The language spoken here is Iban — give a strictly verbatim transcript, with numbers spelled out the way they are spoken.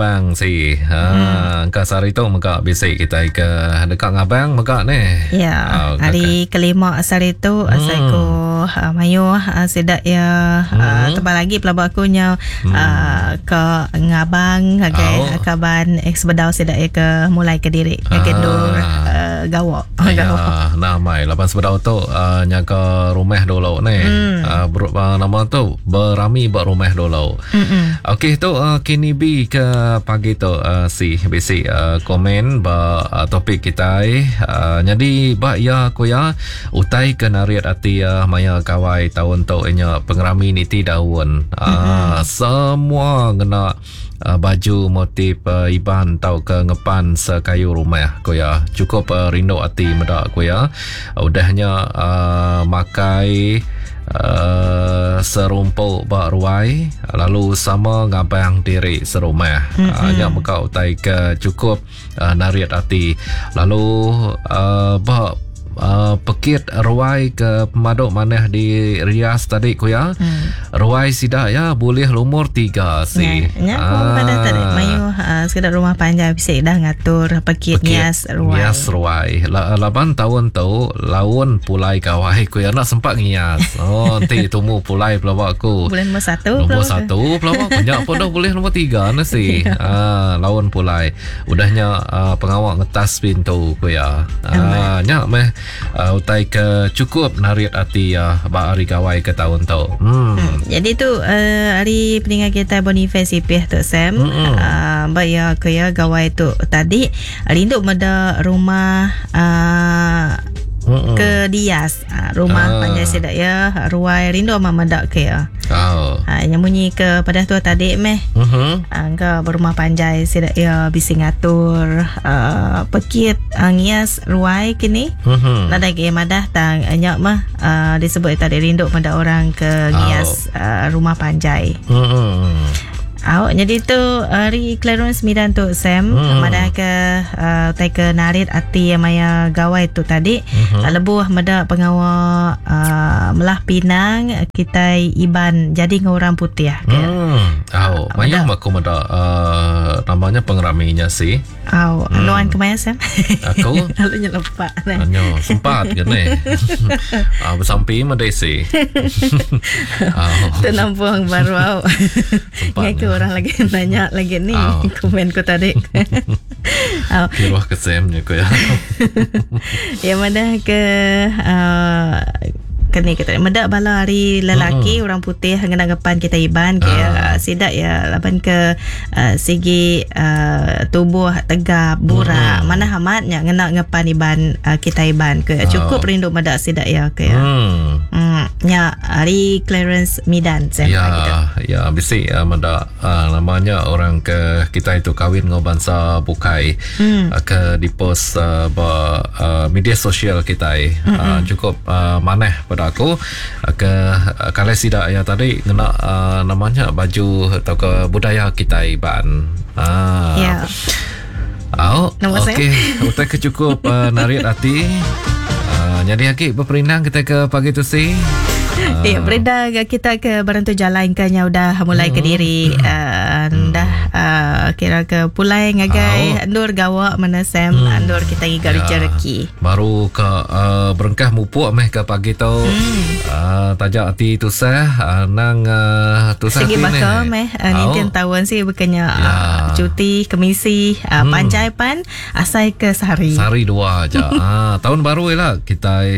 Bang si. Ha hmm. Engka sehari tu mega bisi kitai ke deka ngabang mega neh. Ya, Oh, hari kelima sehari tu hmm. Asai ku uh, mayuh uh, sidak ya hmm. uh, tebal lagi pelaba aku nya hmm. uh, ke ngabang ngagai Oh. kaban ex bedau sidak ya ke mulai ke diri ngagai Ah. dur uh, gawa. Ya, Gawa. nah mai laban sebedau tu uh, nyaga rumah dulu ni. Hmm. Uh, ber, uh, nama tu berami ba rumah dulu. Mm-mm. Okey tu uh, kini B ke pagi tu uh, si bisi uh, komen ba uh, topik kita uh, jadi ba ya ku ya utai ke narit ati uh, maya gawai tahun tu inya pengerami niti daun. Uh, mm-hmm. Semua ngena uh, baju motif uh, Iban tau ke ngepan sekayu rumah ku ya. Cukup uh, rindu ati meda ku ya. Udahnya uh, makai Uh, serumpuk ba ruai lalu sama ngabang diri serumah. Mm-hmm. Uh, nya mega utai ke cukup uh, narit ati. Lalu uh, ba uh, pekit ruai ke pemaduk manah di Rias tadi ku ya. Mm. Ruai sida ya boleh lumur tiga si. Ya, aku pada tadi mayu uh, sekedar rumah panjai bisi dah ngatur pekit, Pekit ngias ruai. Ngias ruai. La, laban tahun tu laun pulai gawai ku ya nak sempat ngias. Oh nanti tumu pulai pelawak aku. Bulan nombor satu Nombor pelawak. satu pelawak banyak pun dah boleh nombor tiga na si. Ah laun pulai. Udahnya uh, pengawak ngetas pintu ku ya. Ah nyak meh uh, utai ke cukup narit ati ya ba hari gawai ke tahun tu. Hmm. Hmm. Jadi tu uh, hari peninggal kita Boniface Ipih tu Sam. Mm-mm. Uh, ba ya ke ya gawai tu tadi rindu meda rumah uh, Mm-mm. ke Dias. Uh, rumah Ah. panjai sedak ya ruai rindu amat meda ke ya. Oh. Ha yang bunyi ke pada tu tadi meh. Mhm. Uh, ke berumah panjai sedak ya bisi ngatur uh, pekit uh, ngias ruai kini. Mhm. Nadai ke madah tang nyak mah uh, disebut tadi rindu pada orang ke ngias uh, rumah panjai. Mhm. Awak jadi tu hari Clarence Midan tu Sam Hmm. madah ke uh, tai ke narit ati yang maya gawai tu tadi Mhm. uh, lebuh meda pengawa uh, melah pinang kita Iban jadi dengan orang putih ke. Hmm. Au, mayang aku meda uh, namanya pengeraminya sih. Au, hmm. Luan kemaya Sam? Aku Lalu nyelepak nah. Anyo, sempat ke ni? Ah, bersampi meda si. Au. Tu nampung baru au. Sempat Ngai ke ni. orang lagi nanya lagi ni Au. komen ku tadi. Au. Kiruh ke Sam je ku ya. Yang mana ke uh, kini kita medak bala hari lelaki mm-hmm. orang putih ngena ngepan kita Iban ke Ah. uh. sidak ya laban ke uh, segi uh, tubuh tegap burak mm-hmm. mana hamatnya ngena ngepan Iban uh, kita Iban ke cukup Oh. rindu medak sidak ya ke ya. Hmm. Hmm nya hari Clarence Midan saya Ya, gitu. ya bisi uh, meda uh, namanya orang ke kita itu kahwin dengan bangsa bukai Hmm. uh, ke di post uh, ba uh, media sosial kita uh, cukup uh, manah pada aku uh, ke uh, kalau sidak ya tadi ngena uh, namanya baju atau ke budaya kita Iban. Ah. Ya. Au, Nombor saya. okey, utai ke cukup uh, narik hati. Uh, jadi lagi berperindang kita ke pagi tu si. Eh, berenda kita ke Barantu Jalan ke nya udah mulai ke diri uh, dah uh, kira ke pulai ngagai andur gawak mana Sam andur kita ngiga Ya. rezeki. Baru ke uh, berengkah mupuk meh ke pagi tu. Hmm. Uh, tajak hati tusah uh, nang uh, tusah Segi hati baka ni. meh uh, Au. nintin tahun si bekenya Ya. uh, cuti kemisi uh, hmm. panjai pan asai ke sehari. Sehari dua aja. Ah, tahun baru lah kita